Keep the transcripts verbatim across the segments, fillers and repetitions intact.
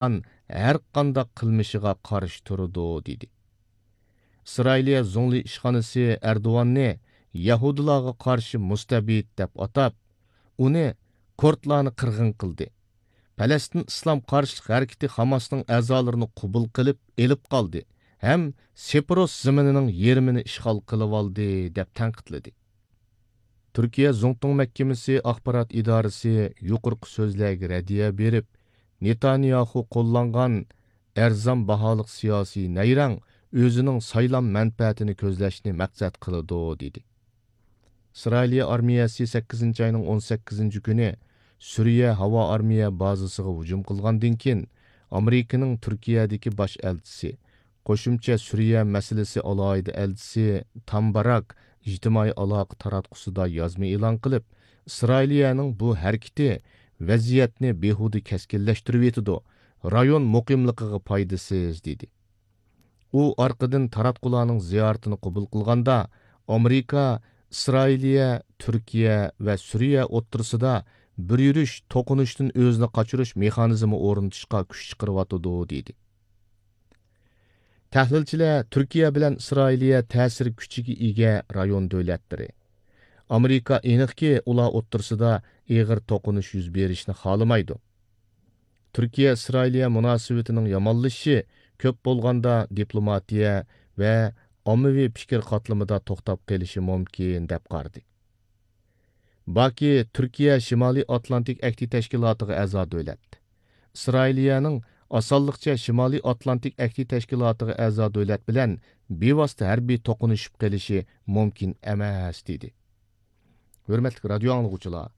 قىلغان ھەرقانداق قىلمىشىغا قارشى تۇرىدۇ، دېدى. ئىسرائىلىيە زۇڭلى ئىشخانىسى ئەردوغاننى يەھۇدىيلارغا قارشى مۇستەبىت دەپ ئاتاپ، ئۇنى كۇردلارنى قىرغىن قىلدى. پەلەستىن ئىسلام قارشىلىق ھەرىكىتى خاماسنىڭ ئەزالىرىنى قوبۇل قىلىپ ئېلىپ قالدى ھەم سېپروس زېمىنىنىڭ يېرىمىنى ئىشغال قىلىۋالدى، دەپ تەنقىدلىدى. تۈركىيە زۇڭتۇڭ مەھكىمىسى ئاخبارات ئىدارىسى يۇقىرىقى سۆزلەرگە رەددىيە بېرىپ، نېتانياخۇ قوللانغان ئەرزان باھالىق سىياسىي نەيرەڭ ئۆزىنىڭ سايلام مەنپەئەتىنى كۆزلەشنى مەقسەت قىلىدۇ، دېدى. ئىسرائىلىيە ئارمىيەسى سەككىزىنچى ئاينىڭ ئون سەككىزىنچى كۈنى سۈرىيە ھاۋا ئارمىيە بازىسىغا ھۇجۇم قىلغاندىن كېيىن، ئامېرىكىنىڭ تۈركىيەدىكى باش ئەلچىسى، قوشۇمچە سۈرىيە مەسىلىسى ئالاھىدە ئەلچىسى تامباراك ئىجتىمائىي ئالاقە تاراتقۇسىدا يازما ئېلان قىلىپ، ئىسرائىلىيەنىڭ بۇ ھەرىكىتى ۋەزىيەتنى بىھۇدە كەسكىنلەشتۈرۈۋېتىدۇ، رايون مۇقىملىقىغا پايدىسىز، دېدى. ئۇ ئارقىدىن تاراتقۇلارنىڭ زىيارىتىنى قوبۇل قىلغاندا، ئامېرىكا ئىسرائىلىيە، تۈركىيە ۋە سۈرىيە ئوتتۇرىسىدا بىر يۈرۈش توقۇنۇشتىن ئۆزىنى قاچۇرۇش مېخانىزمى ئورنىتىشقا كۈچ چىقىرىۋاتىدۇ، دېدى. تەھلىلچىلەر تۈركىيە بىلەن ئىسرائىلىيە تەسىر كۈچىگە ئىگە رايون دۆلەتلىرى. ئامېرىكا ئېنىقكى ئۇلار ئوتتۇرىسىدا ئېغىر توقۇنۇش يۈز بېرىشىنى خالىمايدۇ. تۈركىيە ئىسرائىلىيە مۇناسىۋىتىنىڭ يامانلىشىشى كۆپ بولغاندا دىپلوماتىيە ۋە ئاممىۋى پىكىر قاتلىمىدا توختاپ قېلىشى مۇمكىن، دەپ قارىدى. باكى تۈركىيە شىمالىي ئاتلانتىك ئەھدى تەشكىلاتىغا ئەزا دۆلەت. ئىسرائىلىيەنىڭ ئاسانلىقچە شىمالىي ئاتلانتىك ئەھدى تەشكىلاتىغا ئەزا دۆلەت بىلەن بىۋاسىتە ھەربىي توقۇنۇشۇپ قېلىشى مۇمكىن ئەمەس، دېدى. ھۆرمەتلىك رادىيو ئاڭلىغۇچىلار،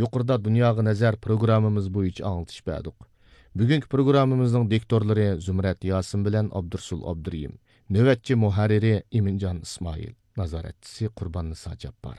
يۇقىرىدا دۇنياغا نەزەر پروگراممىمىز بويىچە ئاڭلىتىش بەردۇق. بۈگۈنكى پروگراممىمىزنىڭ دىكتورلىرى زۇمرەت ياسىن بىلەن ئابدۇرسۇل ئابدۇرېھىم. نۆۋەتچى مۇھەررىرى ئىمىنجان ئىسمائىل. نازارەتچىسى قۇرباننىسا جاپپار.